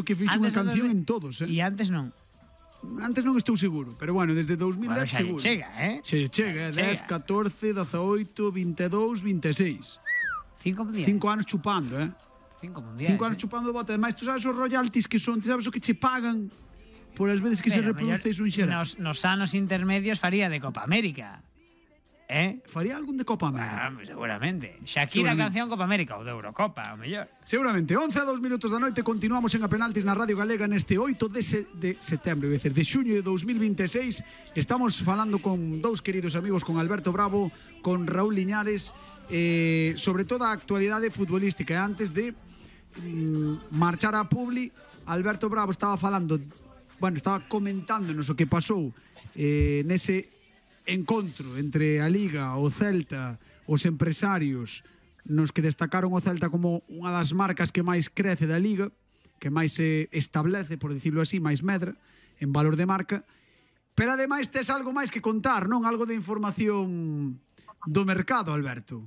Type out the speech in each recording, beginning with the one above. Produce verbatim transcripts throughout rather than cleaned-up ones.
que fixe unha canción en todos, eh? E antes non. Antes non estou seguro, pero bueno, desde dous mil dez bueno, seguro. Chega, eh? Che chega, dez, catorce, dezaoito, vinte e dous, vinte e seis. Cinco mundiais. Cinco anos chupando, eh? Cinco mundiais. Cinco anos eh? chupando bote. Ademais, tú sabes os royalties que son, tú sabes o que che pagan por as veces que Pero, se reproduce iso en xeral. Nos, nos anos intermedios faría de Copa América. Eh? Faría algún de Copa América? Ah, seguramente. Shakira Seguramente. canción Copa América ou de Eurocopa, o mellor. Seguramente. once a dos minutos da noite, continuamos en A Penaltis na Radio Galega neste oito de, se, de setembro, é dicir, de xuño de dos mil vinte e seis. Estamos falando con dous queridos amigos, con Alberto Bravo, con Raúl Liñares, eh, sobre toda a actualidade futbolística. Antes de mm, marchar a Publi, Alberto Bravo estaba falando, bueno, estaba comentándonos o que pasou eh, nese encontro entre a Liga, o Celta, os empresarios, nos que destacaron o Celta como unha das marcas que máis crece da Liga, que máis se establece, por dicirlo así, máis medra en valor de marca. Pero ademais tes algo máis que contar, non? Algo de información do mercado, Alberto.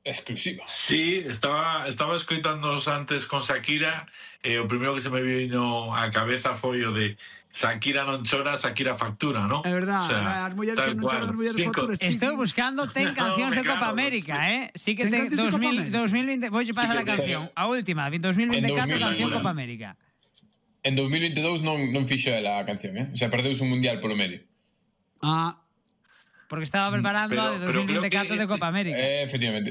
Exclusiva. Sí, estaba estaba escoitándoos antes con Shakira e o primeiro que se me vino á cabeza foi o de Shakira non chora, Shakira factura, ¿no? É verdad, O sea, as mulleres tal non cual. choran, as mulleres Cinco- facturas. Estou buscando ten cancións No, de me Copa cago, América, eh? Sí que Ten ten cancións de Copa dos mil, América. dos mil veinte, voulle pasar Sí a que canción, ten. a última, dos mil vinte e catro En dos mil canción alguna. Copa América. En dos mil veintidós non, non fixo ela a canción, eh? O sea, perdeuse un mundial polo medio. Ah, Porque estaba preparando Pero- a de pero dos mil vinte e catro creo que de Copa este- América. Eh, efectivamente.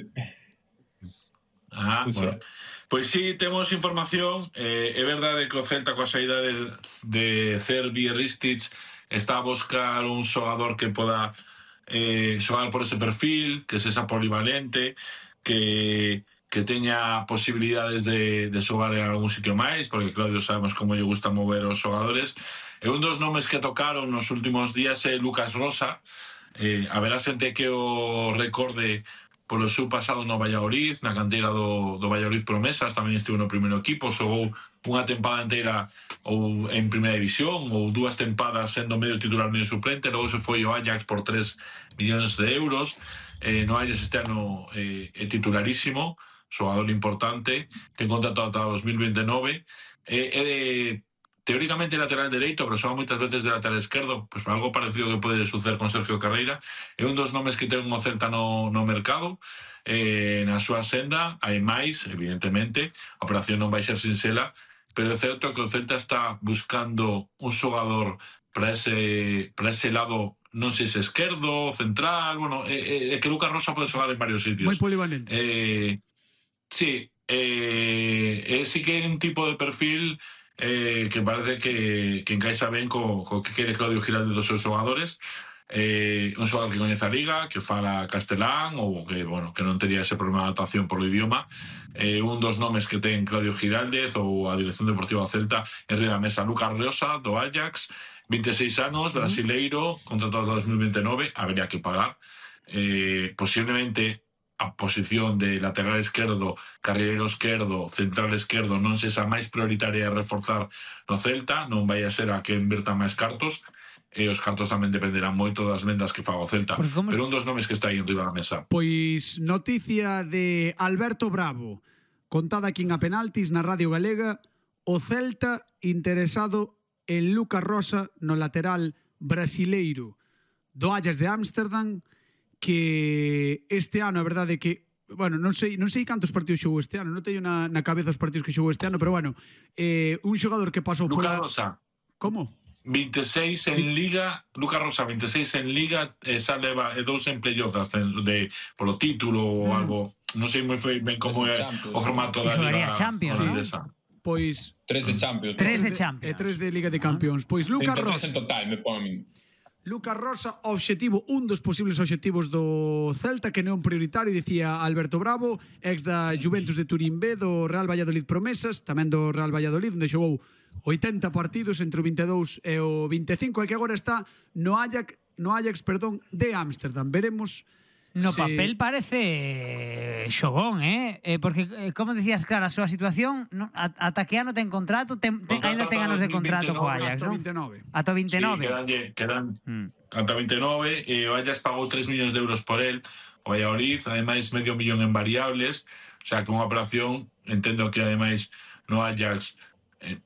Ah, Eso. bueno. Pois sí, temos información. eh, É verdade que o Celta coa saída de, de Cervi e Ristich está a buscar un xogador que poda eh, xogar por ese perfil, que sexa polivalente, que que teña posibilidades de, de xogar en algún sitio máis, porque Claudio sabemos como lle gusta mover os xogadores. E un dos nomes que tocaron nos últimos días é Lucas Rosa. Eh, haberá xente que o recorde polo seu pasado no Valladolid, na canteira do, do Valladolid Promesas, tamén estivo no primeiro equipo, xogou unha tempada inteira ou en primeira división, ou dúas tempadas sendo medio titular medio suplente, logo se foi o Ajax por tres millóns de euros. Eh, no Ajax este ano eh, é titularísimo, xogador importante, ten contrato ata dos mil veintinueve, eh, é de teóricamente lateral dereito, pero xoga moitas veces de lateral esquerdo, pues algo parecido que pode suceder con Sergio Carreira. É un dos nomes que ten o Celta no, no mercado, eh, na súa senda. Hai máis, evidentemente, a operación non vai ser sinxela, pero é certo que o Celta está buscando un xogador para ese, para ese lado, non sei se esquerdo, central, bueno, é, é que Lucas Rosa pode xogar en varios sitios. moi polivalente. Eh, sí, eh, eh, sí que é un tipo de perfil eh, que parece que, que encaixa ben co, co que quere Claudio Giralde dos seus xogadores. Eh, un xogador que coñece a Liga, que fala castelán ou que, bueno, que non tería ese problema de adaptación polo idioma. Eh, un dos nomes que ten Claudio Giraldez ou a Dirección Deportiva do Celta en riba da mesa, Lucas Rosa do Ajax, vinte e seis anos, brasileiro, contratado ata dos mil veintinueve, habería que pagar. Eh, posiblemente a posición de lateral esquerdo, carrilero esquerdo, central esquerdo non sexa máis prioritaria de reforzar no Celta, non vai a ser a que invertan máis cartos, e os cartos tamén dependerán moito das vendas que faga o Celta, pero un dos nomes que está aí en riba da mesa. Pois noticia de Alberto Bravo, contada aquí en A Penaltis na Radio Galega, o Celta interesado en Lucas Rosa no lateral brasileiro do Ajax de Ámsterdam, que este ano a verdade é que, bueno, non sei non sei cantos partidos xogou este ano, non teño na, na cabeza os partidos que xogou este ano, pero bueno, eh, un xogador que pasou Lucas pola... Rosa, Como? vinte e seis en Liga, Lucas Rosa vinte e seis en Liga, e xa leva e dous en playoff de polo título ou Mm. algo, non sei moi ben como é Champions. o formato E da xogaría Liga Champions, holandesa. Pois Tres de Champions. Tres de de Champions. E tres de Liga de Campións. Pois Lucas trinta e tres Rosa, en total, me pon a min. Lucas Rosa, obxectivo, un dos posibles obxectivos do Celta, que non prioritario, dicía Alberto Bravo, ex da Juventus de Turín B, do Real Valladolid Promesas, tamén do Real Valladolid, onde xogou oitenta partidos entre o vinte e dous e o vinte e cinco, e que agora está no Ajax, no Ajax, perdón, de Ámsterdam. Veremos No se... papel parece xogón, eh? eh porque, eh, como decías, claro, a súa situación, no, ata que ano ten contrato, ten, ten, Contrato ainda ten ata anos de dos mil contrato co veintinueve, Ajax, hasta o non? vinte e nove. Ata o vinte e nove. Sí, quedanlle, quedan Mm. ata vinte e nove, e o Ajax pagou tres millóns de euros por él, o Valladolid, ademais medio millón en variables, o sea que unha operación, entendo que ademais no Ajax